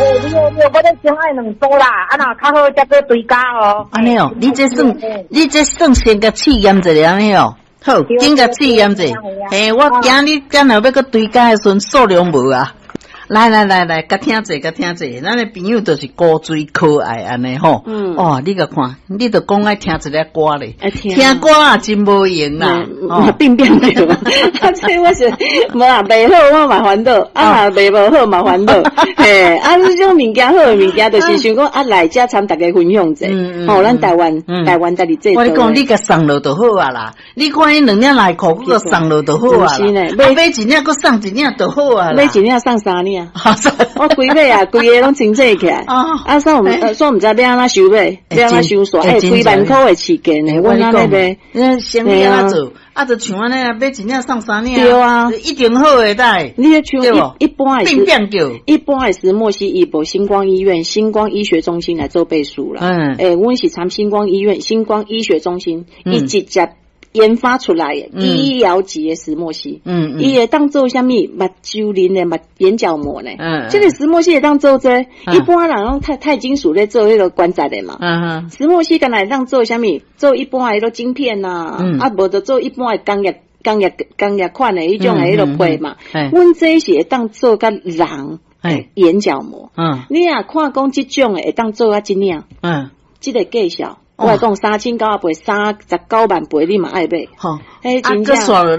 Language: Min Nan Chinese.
你好，你好，我咧先愛兩組啦，啊若較好才閣追加哦。按呢哦，你這算先共試驗一下按呢哦。好，緊共試驗者。嘿，我驚你將來欲閣追加的時陣數量無啊。來來來來，共聽者，共聽者，咱的朋友就是古錐可愛按呢吼。哦，你共看，你著講愛聽一个歌咧，聽歌也真無閒啦。哦，變變對。啊，這我是無啊，賣好我嘛煩惱，啊，賣無好嘛煩惱。嘿，啊，這種物件好的物件，就是想講啊，來遮參大家分享者。吼，咱台灣，台灣家己製。我你講，你共送落就好啊啦。你看彼兩領內褲，閣送落就好啊。是呢，買一領閣送一領就好啊。買一領送三領。我規尾啊，規个攏清醒起來。啊，所以所以毋知欲按怎收尾，欲按怎收煞。欸，幾萬箍的市價呢？阮按呢賣。你生意按怎做？啊，就像按呢，買一領送三領。對啊，一定好的代。你像一般的，變變叫。一般的石墨烯，伊無新光醫院、新光醫學中心來做背書啦。欸，阮是參新光醫院、新光醫學中心，伊直接研發出來的醫療級的石墨烯，伊會當做啥物目睭輪的目眼角膜呢？這個石墨烯會當做這個，一般人攏鈦鈦金屬咧做彼個關節的嘛。石墨烯敢若會當做啥物？做一般的彼個晶片呐，啊，無就做一般的工業、工業、工業款的彼種的彼個皮嘛。阮這是會當做佮人眼角膜。你若看講這種的會當做到這領，這個價數。我講3988，39萬倍，你嘛愛買。好，啊，閣煞落。